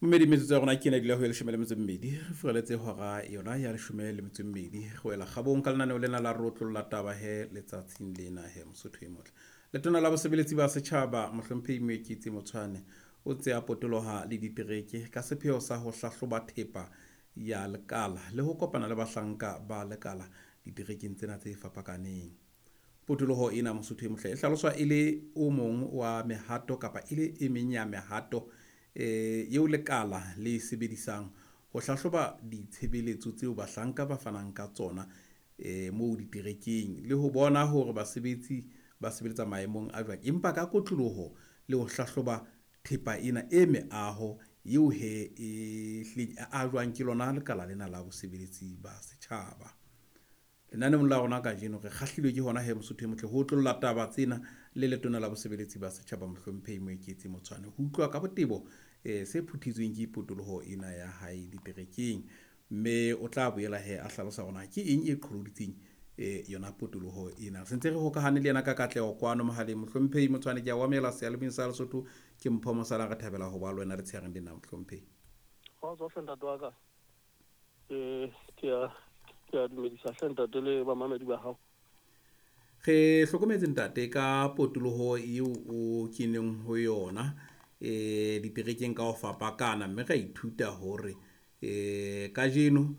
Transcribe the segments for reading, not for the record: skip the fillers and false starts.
Mmedi metsotso ya rona ke ena dula ho ya 12 re furaletse hora yona ya 12 re wela kgabong ka lenaneo lena la rotlolla taba he letsatsing lena he Mosotho e motle. Letona la bosebeletsi ba setjhaba Mohlomphehi Moeketsi Motshwane o ntse a potoloha le ditereke ka sepheo sa ho hlahloba thepa ya lekala le ho kopana le bahlanka ba lekala diterekeng tsena tse fapakaneng. Potoloho ena Mosotho e motle e hlaloswa e le o mong wa mehato kapa e le e meng ya mehato eo lekala le sebedisang ho hlahloba ditshebeletso tseo bahlanka ba fanang ka tsona moo diterekeng le ho bona hore basebetsi ba sebeletsa maemong a jwang, empa ka kotloloho le ho hlahloba thepa ena e meaho eo he e hlileng e ajwang ke lona lekala lena la bosebeletsi ba setjhaba. Lenaneong la rona kajeno re kgahlilwe ke hona he Mosotho e motle ho otlolla taba tsena le letona la bosebeletsi ba setjhaba Mohlomphehi Moeketsi Motshwane ho utlwa ka botebo se phuthetsweng ke potoloho ena ya hae diterekeng, mme o tla boela he a hlalosa hore na ke eng e qholoditseng yona potoloho ena. Re sentse re hokahane le yena ka katleho kwano mohaleng. Mohlomphehi Motshwane, ke a o amohela seyalemoyeng sa Lesotho. Ke Mpho Mosala, re thabela ho ba le wena letshehareng lena Mohlomphehi. Kgotso hle ntate wa ka. Ke a dumedisa hle ntate le bamamedi ba hao. Re hlokometse ntate ka potoloho eo o keneng ho yona diterekeng ka ho fapakana, mme ra ithuta hore kajeno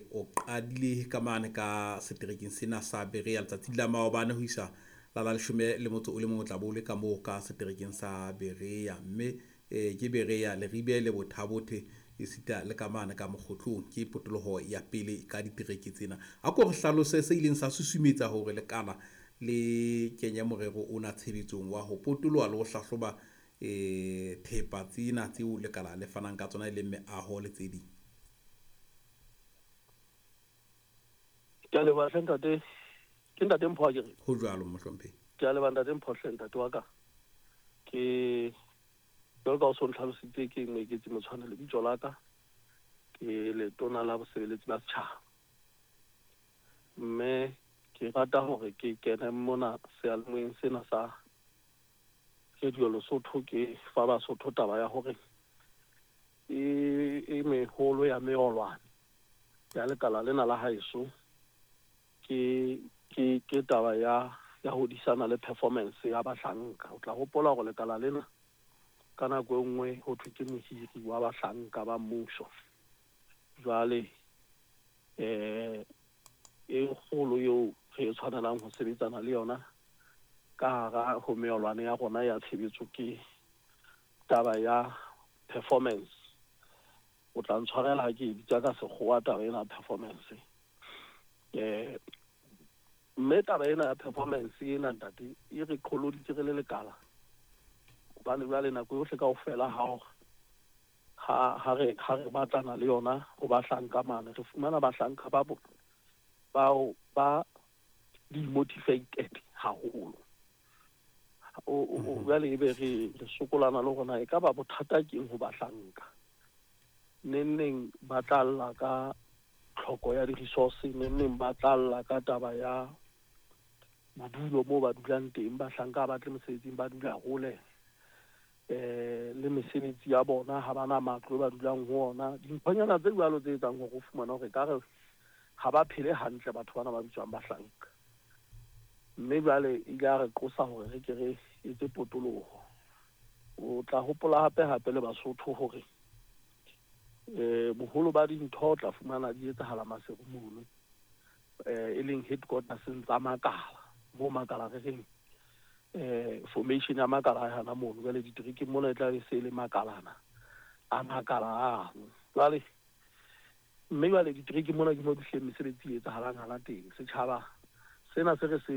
o qadile ka mane ka seterekeng sena sa Berea letsatsing la maobane ho isa la 11 o tla bo le ka moo ka seterekeng sa Berea, mme ke Berea, Leribe le Bothabothe esita le ka mane ka Mokgotlong. Ke potoloho ya pele ka ditereke tsena. A ko re hlalose se ileng sa susumetsa hore lekala le kenye morero ona tshebetsong wa ho potoloha le ho hlahloba thepa tsena tseo lekala le fanang ka tsona e leng meaho le tse ding. Ke a leboha hle ntate. Ke ntate Mpho akere? Ho jwalo Mohlomphehi. Ke a leboha ntate Mpho hle ntate wa ka. Ke jwalo ka o so ntlhalositse, ke Moeketsi Motshwane lebitso la ka. Ke letona la bosebeletsi ba setjhaba. Mme ke rata hore ke kene mona seyalemoyeng sena sa Radio Lesotho, ke fa Basotho taba ya hore e meholo ya meolwane ya lekala lena la haeso ke taba ya ho disana le performance ya bahlanka. O tla hopola hore lekala lena ka nako e nngwe ho thwe ke mohiri wa bahlanka ba mmuso. Jwale e kgolo eo re tshwanelang ho sebetsana le yona ka hara ho meolwane ya rona ya tshebetso ke taba ya performance. O tla ntshwarela ha ke e bitsa ka sekgowa taba ena ya performance. Mme taba ena ya performance ena ntate e re qholoditse re le lekala, hobane jwale nako yohle kaofela ha re batlana le yona ho bahlanka mane, re fumana bahlanka ba bao ba demotivated haholo. Jwale ebe re sokolana le hore na e ka ba bothata keng ho bahlanka. Neng neng ba tla lla ka tlhoko ya di-resource, neng neng ba tla lla ka taba ya bodulo moo ba dulang teng. Bahlanka ha ba tle mosebetsing, ba dula hole le mesebetsi ya bona, ha bana matlo ba dulang ho ona. Dinthonyana tse jwalo tse etsang hore o fumane hore ekare ha ba phele hantle batho bana ba bitswang bahlanka. Mme jwale ile a re qosa hore re ke re etse potoloho. O tla hopola hape hape le Basotho hore boholo ba dintho o tla fumana di etsahala Maseru mono, e leng headquarters tsa makala, moo makala re reng formation ya makala a hana mono. Jwale diterekeng mona e tla be se le makalana a makala ano. Jwale mme jwale diterekeng mona ke mo dihleng mesebetsi e etsahalang hana teng. Setjhaba sena se re se